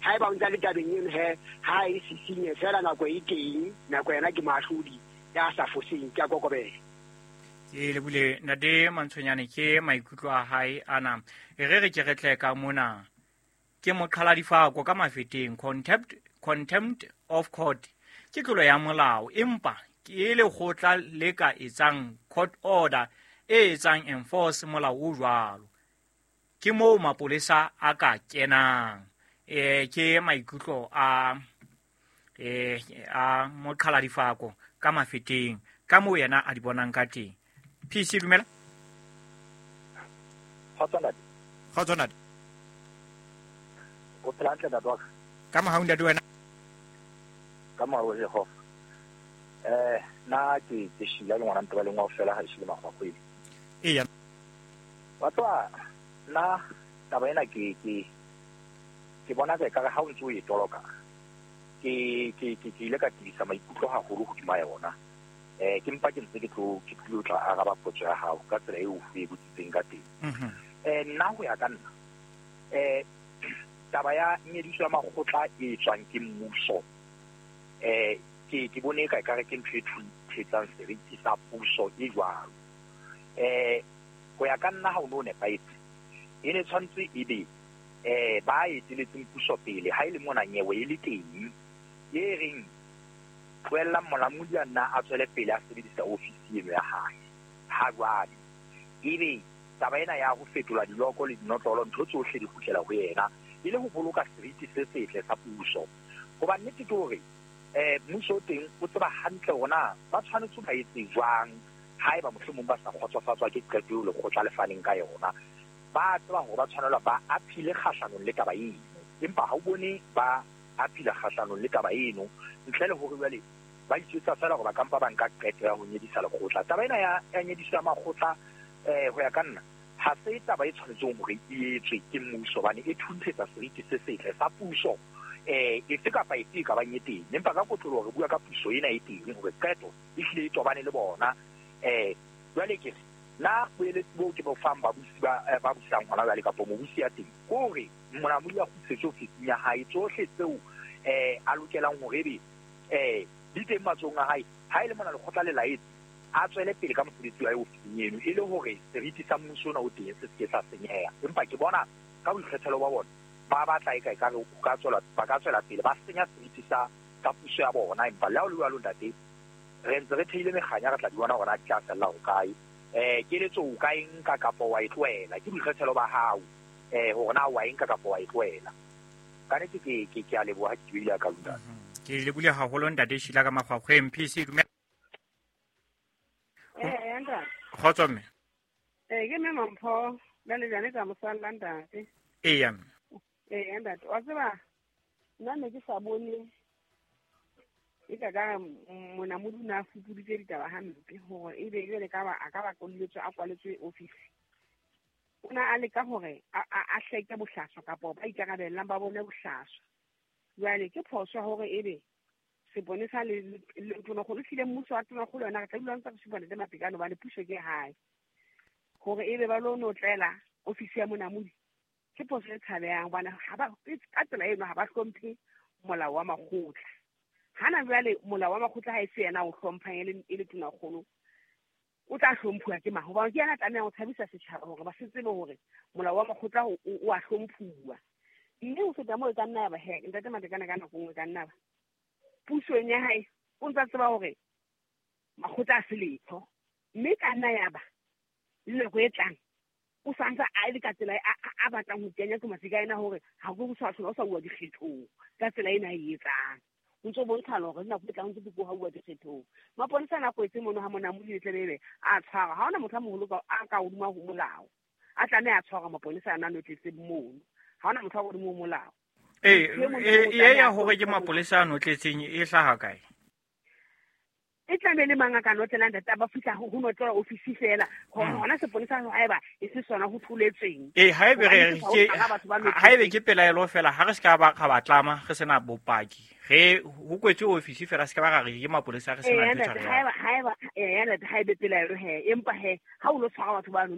Haeba o ntsa le tabeng eno he, ha e sisinye fela nako e teng, nako yena ke moahlodi ya sa foseng, ke a kokobela. Ke lebule ntate Mantshonyane ke maikutlo a hae ana. E re re ke re tle ka mona. Ke moqhaladifako ka mafeteng, contempt of court ke tlolo ya molao, empa ke lekgotla le ka etsang court order e etsang enforce molao o jwalo. Ke moo mapolesa a ka kenang. Ke maikutlo a moqhaladifako ka mafeteng, ka moo yena a di bonang ka teng. PC dumela. Kgotso ntate. Kgotso ntate. O phela hantle ntate wa ka? Ka mohau ntate wena. Ka mohau wa Jehova. Nna ke Sheila le ngwana ntate ba leng wa fela ha e shile makgwakgwedi. Eya. Wa tseba nna taba ena ke bona ka ekare ha o ntse o e toloka, ke ile ka tibisa maikutlo haholo hodima yona. Ke mpa ke ntse ke tlo, ke tlilo tla araba potso ya hao ka tsela eo o e botsitseng ka teng. Nna ho ya ka nna, taba ya nyediso ya makgotla e tswang ke mmuso, ke bone ka ekare ke ntho e thetsang seriti sa puso e jwalo. Ho ya ka nna ha o no nepahetse, e ne tshwanetse e be ba eteletseng puso pele ha e le mona nyewe e le teng, e reng tlohellang molamodi a nna a tswele pele a sebedisa ofisi eno ya hae. Ha jwale ebe taba ena ya ho fetola diloko le dinotlolo, ntho tsohle di kgutlela ho yena, e le ho boloka seriti se setle sa puso. Hoba nnete ke hore mmuso o teng o tseba hantle hore na ba tshwanetse ba etse jwang haeba mohlomong ba sa kgotsofatswa ke qeto eo lekgotla le faneng ka yona. Ba tseba hore ba tshwanelwa ba aphile kgahlanong le taba eno, empa ha o bone ba aphila kgahlanong le taba eno ntle le hore jwale ba itjwetsa fela hore ba ka mpa ba nka qeto ya ho nyedisa lekgotla. Taba ena ya nyediso ya makgotla, ho ya ka nna, ha se taba e tshwanetseng hore e etswe ke mmuso, hobane e thunthetsa seriti se setle sa puso, efe kapa efe e ka bang e teng. Empa ka kotloloho re bua ka puso ena e teng hore qeto e hlile e tobane le bona. Jwale ke re, nna boeletsi boo ke bo fang babusi ba busang hona jwale kapa mobusi ya teng, ke hore monamodi a kgutlisetswe ofising ya hae, tsohle tseo a lokelang hore ebe di teng matsohong a hae. Ha e le mona lekgotla le laetse, a tswele pele ka mosebetsi wa hae ofising eno, e le hore seriti sa mmuso ona o teng se se ke sa senyeha. Empa ke bona ka boikgethelo ba bona ba batla eka ekare o ka tswela, ba ka tswela pele ba senya seriti sa puso ya bona. Empa le ha o le jwalo ntate, re ntse re theile mekganya, re tla di bona hore na di tla fella hokae. Keletso o ka e nka kapa wa e tlohela, ke boikgethelo ba hao, hore na wa e nka kapa wa e tlohela. Ka nnete ke a leboha ha ke buile ka lona. Ke lebohile haholo ntate Sheila ka makgwakgweng. PC dumela. Ntate. Kgotso mme. Ke mme Mampho, la lejane ka mosalla ntate. Eya mme. Ntate, wa tseba nna ne ke sa bone e ka ka monamodi o ne a fupuditse ditaba hampe hore ebe jwale ka ba a ka ba kwalletswe, a kwaletswe office. O ne a leka hore a hleke bohlaswa kapa ba ikarabellang ba bone bohlaswa. Jwale ke phoso hore ebe seponesa le tonakgolo, ehlile mmuso wa tonakgolo yona re tla dula ntse re supa ntate Matekane hobane puso ke hae. Hore ebe ba lo notlela ofisi ya monamodi ke phoso e tshabehang hobane ha ba, ka tsela eno ha ba hlomphe molao wa makgotla. Hana jwale molao wa makgotla ha e se yena o hlomphang e le tonakgolo, o tla hlomphuwa ke mang? Hobane ke yena a tlamehang ho tshabisa setjhaba hore ba se tsebe hore molao wa makgotla o a hlomphuwa. Mme ho feta moo e ka nna ya ba he, ntate Matekane ka nako nngwe e ka nna ba pusong ya hae o ntsa tseba hore makgotla a se letho, mme ka nna ya ba le nako e tlang o sa ntse a le ka tsela a batlang ho kenya ke mafika ena hore ha go sa hlola o sa bua dikgethong ka tsela ena a e etsang. O ntso bontsha hore nako e tlang o ntse go bua dikgethong. Maponesa a kwetse mono ha monamodi le tlebe a tshwara, ha hona motho a moholo a ka hodimo ho molao. A tlameha a tshwara maponesa a nang le tletse mono. Ha hona motho a hodimo ho molao. E ya hore ke mapolesa a notletseng e hlaha kae? E tlameha le mang a ka notlelang ntate ba fihla ho notlela ofisi fela. Hona seponesa haeba e se sona ho tholetsweng. Haebe re Hobane ke sa ho tshwara batho ba notletseng. Haebe ke pelaelo fela, ha re se ka ba ra ba tlama, re sena bopaki. Re ho kwetswe ofisi fela, se ka ba ra re ke mapolesa, re sena ntho e Ntate, tshwarehang. haeba, ntate, haebe pelaelo he, empa he, ha o lo tshwara batho ba no